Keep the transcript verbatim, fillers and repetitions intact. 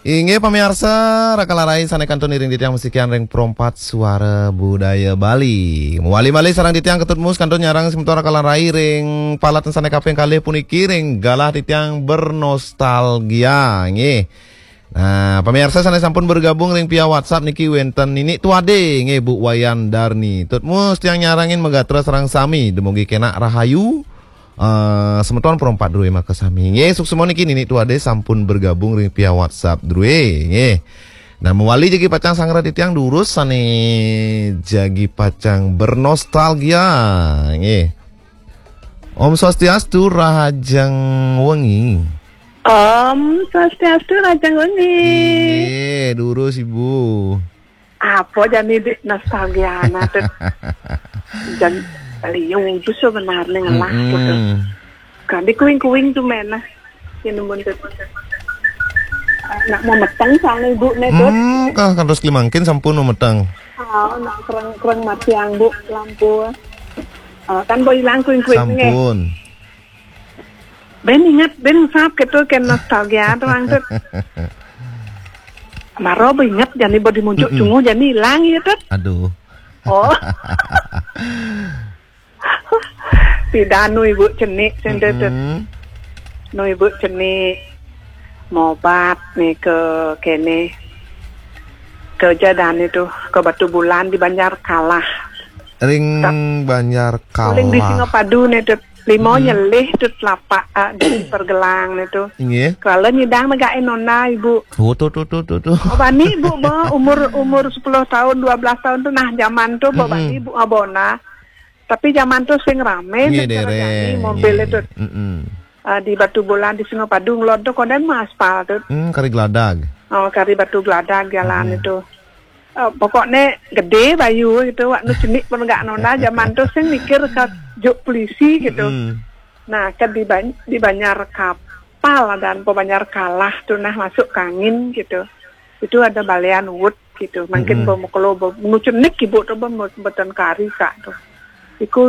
Inggih pamiarsa, raka lan rai sané kantun iring titiang masikian ring Perompat Suara Budaya Bali. Mawali malih sareng titiang Ketut Mus kantun nyarengin semeton raka lan rai ring palet sané kaping kalih puniki ring galah titiang bernostalgia, nggih. Nah, pamiarsa sané sampun bergabung ring via WhatsApp niki wénten Nini Tuade, nggih, Bu Wayan Darni. Tut Mus tiang nyarengin magatra sareng sami, dumugi kénak rahayu. Eh, semeton Perompat Drué makasami. Nggih, suksma niki Nini Tuade sampun bergabung ring via WhatsApp Drué, nggih. Nah, mawali jagi pacang sareng titiang durus sané jagi pacang bernostalgia, nggih. Om Swastiastu, rahajeng wengi. Om Swastiastu, rahajeng wengi. Nggih, durus Ibu. Apa jani di nostalgia na, Tut? Jan liu tu sebenarnya ngelah, Tut. Mm-mm. Kan di kuing-kuing tu men, nah. Ini pun, Tut. Nak mau meteng soalnya ibu nih, Tut. Hmm, kah kantos klimangkin sampun mau meteng. Ah, nak kereng-kereng mati ang, Bu, lampu. Ah, kan boy ilang kuing-kuing nih. Sampun. Ben inget, ben sap gitu, kan nostalgia tuh, Ang, Tut. Maro ba inget, jani ba dimunjuk, mm-mm, cunguh, jani ilang ya, Tut. Aduh. Oh. Pidan nu ibu cenik, sing, Tut. Mm-mm. Nu ibu cenik mobat nih ke kene, ke jadan itu, ke Batu Bulan di Banjar Kalah. Ring Banjar Kalah. Uling di Singapadu nih, Tut. Lima, mm-mm, nyelih tu telapak, ah, di pergelang ni tu. Nggih. Kalau nyidang negain nona ibu. Oh, tu, tu, tu, tu, tu. Oh, bani ibu ba umur, umur sepuluh tahun, dua belas tahun tu, nah, zaman tu ba, mm-mm, bani ibu abona. Tapi zaman tu sing rame, nggih, sing dereng, jani mobil, nggih, itu. Mm-mm. Ah, di Batu Bulan, di Singapadu, ngelod tu konden ma aspal tu. Hmm, kari geladag. Oh, kari batu geladag jalan, mm-mm, itu. Eh, pokoknya gede bayu gitu, wak nu cenik pun gak nona zaman tu sing mikir ke juk polisi gitu. Mm. Nah, ke di Ban-, di Banjar Kapal dan po Banjar Kalah tu nah masuk kangin gitu. Itu ada balian wut gitu. Mungkin, mm-mm, ba mukelo ba nu cenik ibu tu ba mu-, mboten kari kak tu. Iku